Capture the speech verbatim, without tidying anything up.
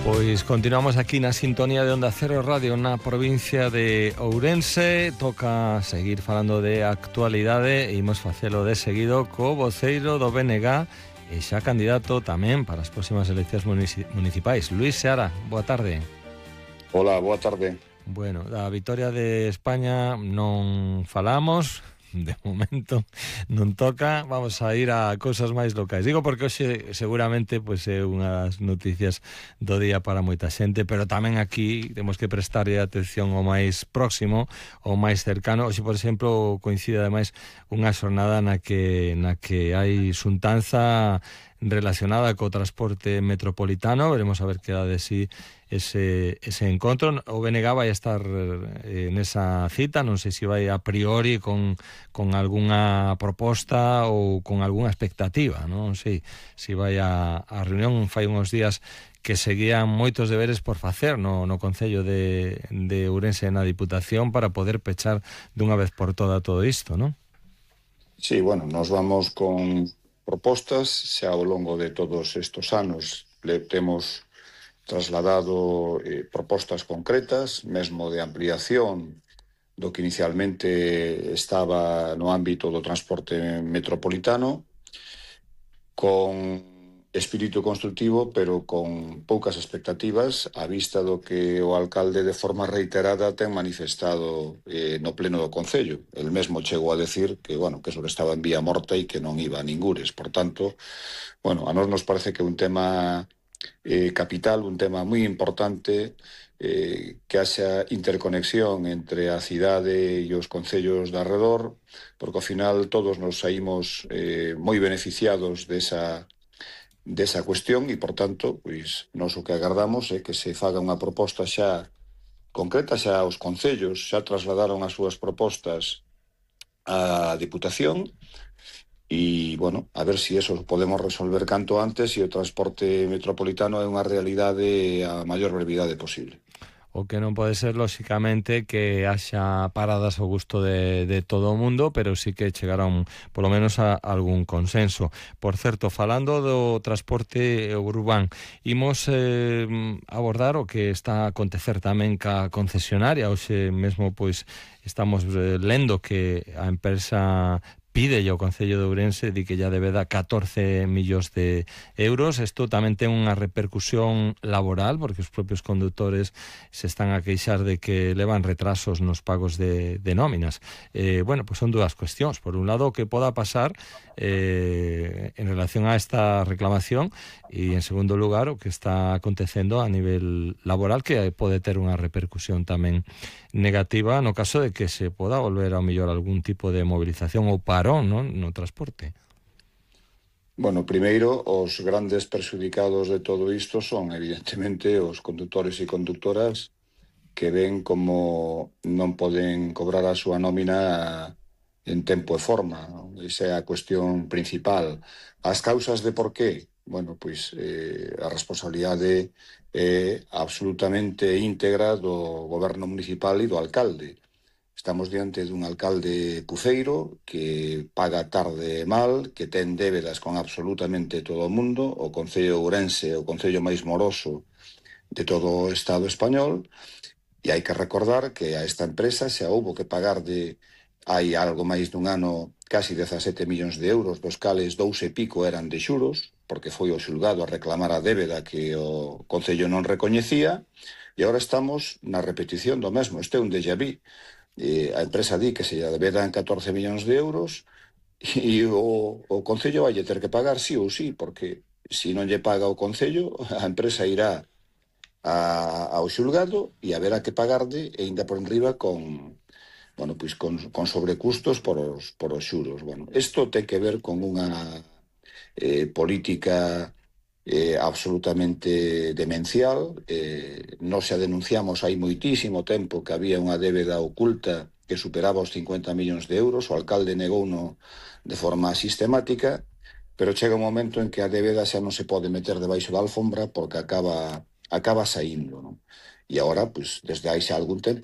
Pois continuamos aquí na sintonía de Onda Cero Radio na provincia de Ourense. Toca seguir falando de actualidade e imos facelo de seguido co voceiro do B N G e xa candidato tamén para as próximas eleccións municipais. Luís Seara, boa tarde. Hola, boa tarde. Bueno, da vitoria de España non falamos, de momento non toca, vamos a ir a cousas máis locais. Digo porque hoxe seguramente pois, é unha das noticias do día para moita xente, pero tamén aquí temos que prestarlle atención ao máis próximo, ao máis cercano. Hoxe, por exemplo, coincide ademais unha xornada na que, na que hai xuntanza relacionada co transporte metropolitano. Veremos a ver que dá de sí ese, ese encontro. O B N G vai estar eh, nesa cita, non sei se vai a priori con, con algunha proposta ou con algunha expectativa, non sei se vai a, a reunión. Fai uns días que seguían moitos deberes por facer no, no Concello de, de Ourense na Diputación para poder pechar dunha vez por toda todo isto, non? Sí, bueno, nos vamos con propostas, xa ao longo de todos estes anos le temos trasladado eh, propostas concretas, mesmo de ampliación do que inicialmente estaba no ámbito do transporte metropolitano, con espírito constructivo, pero con poucas expectativas, a vista do que o alcalde de forma reiterada ten manifestado eh, no pleno do Concello. El mesmo chegou a decir que, bueno, que eso estaba en vía morta e que non iba a ningures. Por tanto, bueno, a nós nos parece que é un tema eh, capital, un tema moi importante, eh, que haxa interconexión entre a cidade e os concellos de arredor, porque ao final todos nos saímos eh, moi beneficiados desa desa cuestión e, por tanto, pois, nós o que agardamos é que se faga unha proposta xa concreta, xa os concellos xa trasladaron as súas propostas á Diputación e, bueno, a ver se si eso podemos resolver canto antes e o transporte metropolitano é unha realidade a maior brevidade posible. O que non pode ser, lóxicamente, que haxa paradas ao gusto de, de todo o mundo, pero sí que chegaron, polo menos, a algún consenso. Por certo, falando do transporte urbán, imos eh, abordar o que está a acontecer tamén ca concesionaria. Hoxe mesmo, pois, estamos eh, lendo que a empresa pide ao Concello de Ourense di que ya debe dar catorce millóns de euros. Isto tamén ten unha repercusión laboral, porque os propios condutores se están a queixar de que levan retrasos nos pagos de, de nóminas. Eh, bueno, pues son dúas cuestións. Por un lado, o que poda pasar eh, en relación a esta reclamación, e en segundo lugar, o que está acontecendo a nivel laboral, que pode ter unha repercusión tamén negativa no caso de que se poda volver ao mellor algún tipo de movilización ou parón, non, no transporte. Bueno, primeiro, os grandes perxudicados de todo isto son, evidentemente, os conductores e conductoras que ven como non poden cobrar a súa nómina en tempo e forma, non? Esa é a cuestión principal. As causas de por qué? Bueno, pois eh, a responsabilidade é absolutamente íntegra do goberno municipal e do alcalde. Estamos diante dun alcalde puceiro que paga tarde e mal, que ten débedas con absolutamente todo o mundo, o Concello de Ourense é o concello máis moroso de todo o Estado español, e hai que recordar que a esta empresa xa houbo que pagar de hai algo máis dun ano casi dezasete millóns de euros, dos cales dous e pico eran de xuros, porque foi o xulgado a reclamar a débeda que o Concello non recoñecía, e agora estamos na repetición do mesmo. Este é un déjà vu. Eh, a empresa di que se lle debedan catorce millóns de euros e o, o Concello vai ter que pagar sí ou sí, porque se non lle paga o Concello, a empresa irá a, ao xulgado e haberá que pagarde e ainda por enriba con, bueno, pois con, con sobrecustos por os, por os xuros. Bueno, isto ten que ver con unha eh, política eh, absolutamente demencial. Eh, nos xa denunciamos hai moitísimo tempo que había unha débeda oculta que superaba os cincuenta millóns de euros. O alcalde negouno de forma sistemática, pero chega un momento en que a débeda xa non se pode meter debaixo da alfombra porque acaba, acaba saindo, non? E agora, pues, desde hai xa algún tempo